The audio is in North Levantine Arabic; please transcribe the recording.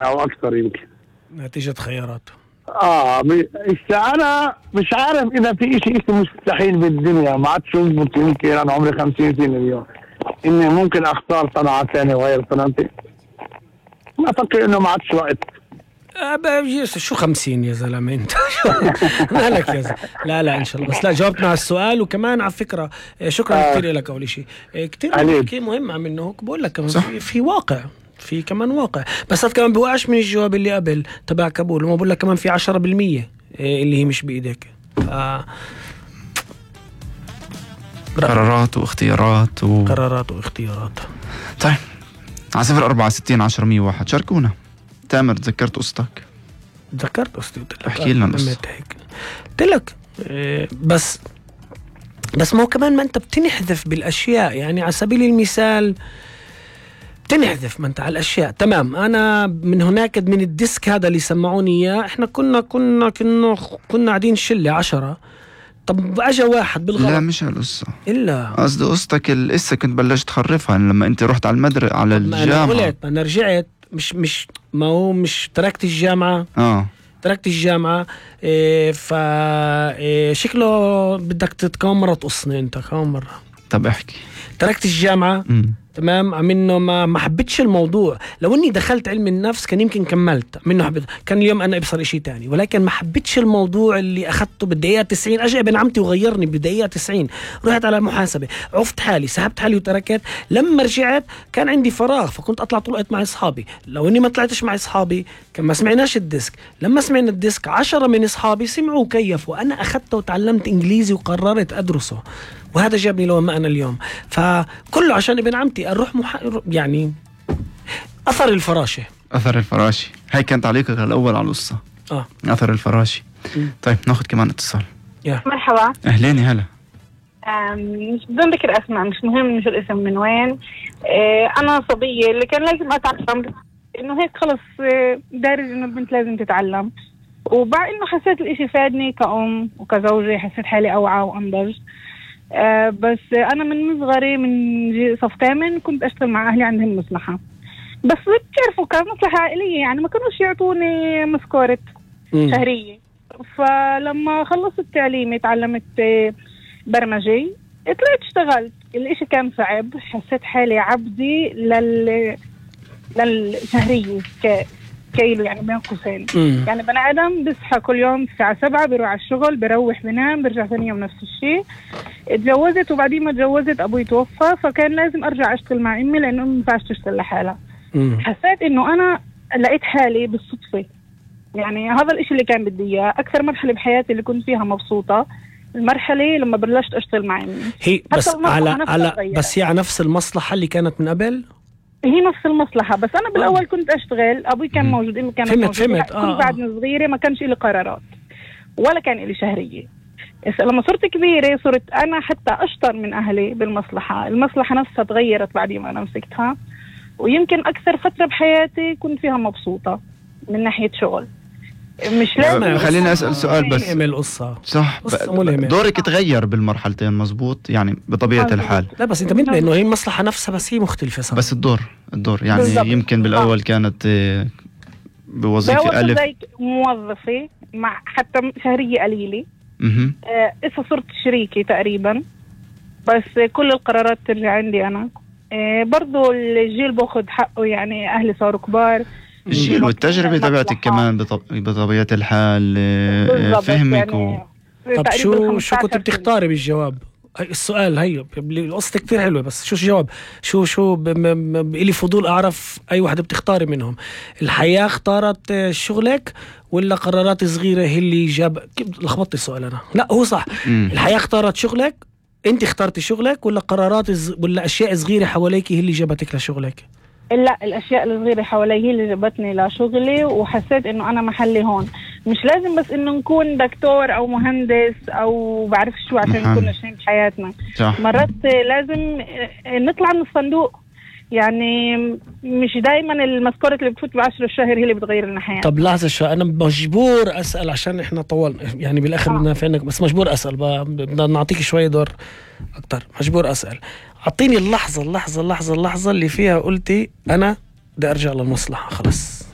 او اكثر يمكن. نتيجة خيارات. انا مش عارف اذا في اشي مستحيل بالدنيا، ما عادش يزبط. يمكن انا عمري 50 سنة اليوم اني ممكن اختار صنعة ثانية وغير صنعتي. ما افكر انه ما عادش وقت. شو 50 يا زلمة انت؟ مالك يا زلمة؟ لا ان شاء الله. بس لا، جاوبنا على السؤال. وكمان على فكرة شكرا كثير لك. اول شيء كثير مهم عم انه بقول لك كمان في واقع، في كمان واقع. بس هذا كمان بوقعش من الجواب اللي قبل تبع كابول. وما بقول لك كمان في 10% اللي هي مش بايدك. قرارات واختيارات قرارات واختيارات. طيب على 06460 10 شاركونا. تامر، تذكرت قصتك؟ تذكرت قصتي. احكي لنا قصة. قلت لك بس ما هو كمان ما انت بتنحذف بالاشياء. يعني على سبيل المثال بتنحذف ما انت على الاشياء. تمام. انا من هناك من الديسك هذا اللي سمعوني اياه، احنا كنا قاعدين شله 10. طب اجى واحد بالغلط. لا مش هالقصة، الا قصدي قصتك القصة كنت بلشت تخرفها لما انت رحت على المدرسة على الجامعة. انا قلت انا رجعت مش تركت الجامعة. تركت الجامعة. فشكله بدك كمان مرة تقصني انت كمان مرة. طب احكي. تركت الجامعة. تمام. عمينه ما حبيتش الموضوع. لو اني دخلت علم النفس كان يمكن كملت منه. حبيت كان اليوم انا ابصر اشي تاني. ولكن ما حبيتش الموضوع اللي اخذته بالدقيقة 90. اجى ابن عمتي وغيرني بالدقيقة 90. رحت على محاسبة، عفت حالي، سحبت حالي وتركت. لما رجعت كان عندي فراغ، فكنت اطلع طول الوقت مع اصحابي. لو اني ما طلعتش مع اصحابي كان ما سمعناش الديسك. لما سمعنا الديسك 10 من اصحابي سمعوا وكيفوا. انا اخذته وتعلمت انجليزي وقررت ادرسه، وهذا جابني لو ما أنا اليوم. فكله عشان ابن عمتي أروح يعني أثر الفراشة. أثر الفراشة، هاي كان تعليقك الأول على القصة. أثر الفراشة. طيب ناخذ كمان اتصال. مرحبا. أهلين هلا. مش بدون ذكر أسماء، مش مهم شو الاسم من وين. أنا صبية اللي كان لازم أتعلم إنه هيك خلص دارج إنه البنت لازم تتعلم. وبعد إنه حسيت الإشي فادني كأم وكزوجة، حسيت حالي أوعى وأنضج. بس أنا من صغري من صف 8 كنت أشتغل مع أهلي عندهم مصلحة. بس بتعرفوا كان مصلحة عائلية، يعني ما كانوش يعطوني مسكورة شهرية. فلما خلصت تعليمي تعلمت برمجة، طلعت اشتغلت. الاشي كان صعب، حسيت حالي عبدي للشهرية كيلو، يعني بين قوسين. يعني بني آدم بيصحى كل يوم الساعة 7 بيروح على الشغل، بيروح بنام، برجع ثاني يوم نفس الشيء. اتجوزت وبعدين ما اتجوزت أبوي توفى، فكان لازم أرجع أشتغل مع أمي لأنه أمي ما ينفعش تشتغل لحالها. حسيت إنه أنا لقيت حالي بالصدفة. يعني هذا الإشي اللي كان بدي إياه. أكثر مرحلة بحياتي اللي كنت فيها مبسوطة المرحلة لما بلشت أشتغل مع أمي. هي بس بس هي على نفس المصلحة اللي كانت من قبل. هي نفس المصلحة، بس أنا بالأول كنت أشتغل. أبوي كان موجود، أمي كانت موجودة. فهمت. كنت بعد صغيرة ما كانش إلي قرارات ولا كان إلي شهرية. لما صرت كبيرة صرت أنا حتى أشطر من أهلي بالمصلحة. المصلحة نفسها تغيرت بعد ما أنا مسكتها. ويمكن أكثر فترة بحياتي كنت فيها مبسوطة من ناحية شغل. مش لازم. خليني أسأل سؤال بس. القصة صح، دورك تغير بالمرحلتين مزبوط يعني بطبيعة الحال. لا بس انت منتبه انه هي المصلحة نفسها بس هي مختلفة صح. بس الدور يعني بالزبط. يمكن بالأول كانت بوظيفة ألف زي موظفة مع حتى شهرية قليلة. إذا صرت شريكي تقريبا، بس كل القرارات ترجع عندي أنا. برضو الجيل باخد حقه، يعني أهلي صاروا كبار. الجيل والتجربة تبعتك كمان بطبيعة الحال. فهمك يعني طب شو كنت بتختاري بالجواب؟ السؤال هي القصة كتير حلوة، بس شو الجواب؟ شو إلي فضول أعرف أي واحدة بتختاري منهم. الحياة اختارت شغلك ولا قرارات صغيرة هي اللي لخبطت السؤال أنا. لا هو صح. الحياة اختارت شغلك، أنت اختارتي شغلك، ولا قرارات ولا أشياء صغيرة حواليك هي اللي جابتك لشغلك؟ لا، الأشياء الصغيرة حوالي هي اللي جابتني لشغلي. وحسيت إنه أنا محلي هون. مش لازم بس إنه نكون دكتور أو مهندس أو بعرف شو عشان نكون ناجحين بحياتنا. مرات لازم نطلع من الصندوق. يعني مش دايما المسكورة اللي بتفوت ب10 الشهر هي اللي بتغير لنا حياتنا. طب لحظة شو، أنا مجبور أسأل عشان إحنا طول يعني بالآخر بدنا فينك، بس مجبور أسأل. بدنا نعطيك شوية دور أكتر. مجبور أسأل. أعطيني اللحظة اللي فيها قلتي أنا بدي أرجع للمصلحة خلاص.